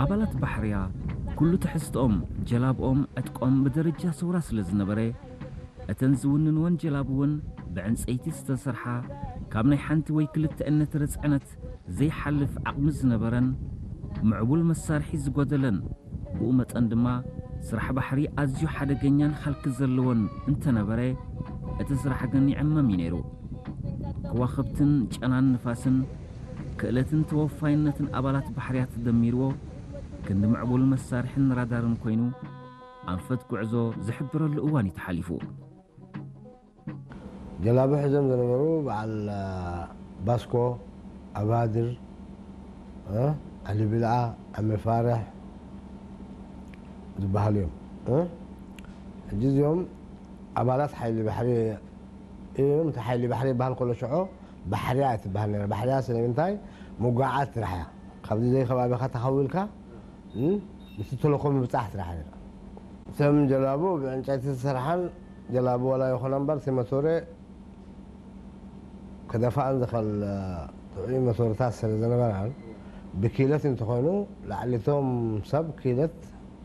ኣባላት ባሕርያ ኩሉ ትሕዝትኦም፣ ጀላብኦም፣ ዕጥቆም ብደረጃ ሰውራ ስለ ዝነበረ፣ እተን ዝውንንወን ጀላቡ እውን ብዕንጸይቲ ዝተሰርሓ፣ ካብ ናይ ሓንቲ ወይ ክልተ እነትረ ጽዕነት ዘይሓልፍ ዓቕሚ ዝነበረን፣ ምዕቡል መሳርሒ ዝጎደለን፣ ብኡ መጠን ድማ ስራሕ ባሕሪ ኣዝዩ ሓደገኛን ሃልኪ ዘለዎን እንተነበረ፣ እቲ ስራሕ ግን ይዕመም እዩ ነይሩ። ከዋኽብትን ጨናን ንፋስን፣ ክእለትን ተወፋይነትን ኣባላት ባሕርያ ተደሚርዎ፣ ክንዲ ምዕቡል መሳርሕን ራዳርን ኮይኑ፣ ኣንፈት ጉዕዞ ዝሕብረሉ እዋን እዩ ተሓሊፉ። ጀላቡ ሒዞም ዝነበሩ በዓል ባስኮ፣ ኣባድር፣ ዓሊ ብልዓ፣ ኣመ ፋርሕ ዝበሃሉ እዮም። ሕጂ እዚኦም ኣባላት ሓይሊ ባሕሪ እዮም። እቲ ሓይሊ ባሕሪ ይበሃል ከሎ ሽዑ ባሕርያ ትበሃል ነራ። ባሕርያ ስለምንታይ? ምጉዓዝ ጥራሕ እያ። ካብዚ ዘይ ከባቢኻ ተኸዊልካ ምስ ተልእኮ ምብጻሕ ጥራሕ ነራ። እተን ጀላቡ ብዕንጨይቲ ዝተሰርሓን ጀላቡ ዋላ ይኹና እምበር እቲ መቶረ ክደፍኣን ዝኽእል ጥዑይ መቶርታት ስለ ዝነበራን ብኪለት እንተኾይኑ ላዕሊቶም ሰብ ኪለት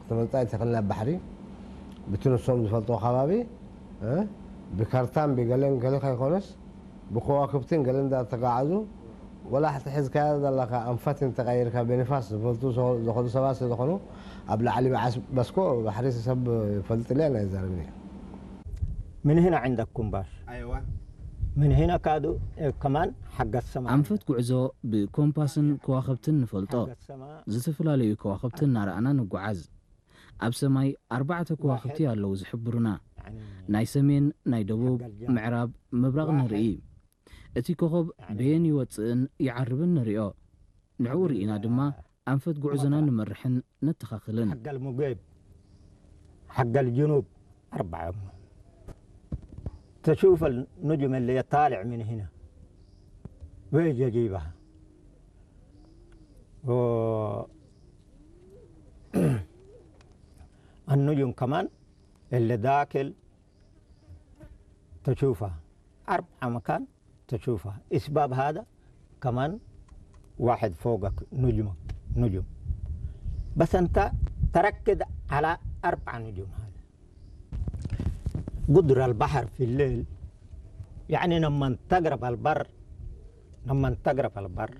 ክትመልጣ ኣይትኽእልን ኣብ ባሕሪ ብቲ ንሶም ዝፈልጦ ከባቢ ብካርታን ብገለን ገለ ከይኮነስ ብከዋክብትን ገለ እንዳተጋዓዙ ወላ ሕቲ ሒዝካያ ዘለካ ኣንፈት እንተቀይርካ ብንፋስ ዝፈልጡ ዝኸዱ ሰባት ስለዝኾኑ ኣብ ላዕሊ በዓስ በስኮ ባሕሪ ሰብ ይፈልጥልያ ናይ ዘረብኒ من هنا عندك كومباس أيوة من هنا كادو كمان حق السماء ኣንፈት ጉዕዞ ብኮምፓስን ከዋኽብትን ንፈልጦ። ዝተፈላለዩ ከዋኽብቲ እናረኣና ንጓዓዝ። ኣብ ሰማይ ኣርባዕተ ከዋኽብቲ ኣለዉ ዝሕብሩና። ናይ ሰሜን፣ ናይ ደቡብ፣ ምዕራብ፣ ምብራቕ ንርኢ። እቲ ኮኾብ በየን ይወጽእን ይዓርብን ንሪኦ። ንዕኡ ርኢና ድማ ኣንፈት ጉዕዞና ንመርሕን ነተኻኽልን። حق المغيب حق الجنوب أربعة تشوف النجم اللي طالع من هنا ويجي يجيبها و النجم كمان اللي داخل تشوفها أربعة مكان تشوفها اسباب هذا كمان واحد فوقك نجمة نجم بس انت تركز على أربعة نجوم هذا قدر البحر في الليل يعني لما تقرب البر لما تقرب البر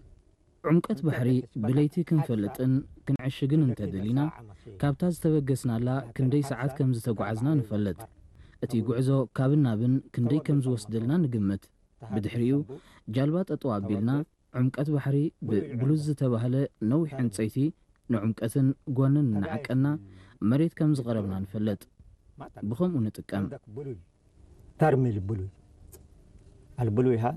ዕምቀት ባሕሪ ብለይቲ ክንፈልጥን ክንዕሽግን እንተደሊና፣ ካብታ ዝተበገስናላ ክንደይ ሰዓት ከም ዝተጓዓዝና ንፈልጥ። እቲ ጉዕዞ ካብን ናብን ክንደይ ከም ዝወስደልና ንግምት። ብድሕሪኡ፣ ጃልባ ጠጠው ኣቢልና፣ ዕምቀት ባሕሪ ብብሉዝ ዝተባህለ ነዊሕ ዕንጸይቲ ንዕምቀትን ጓንን እናዓቀና መሬት ከም ዝቐረብና ንፈልጥ። ብኸምኡ ንጥቀም። ترمي البلوي البلوي هذا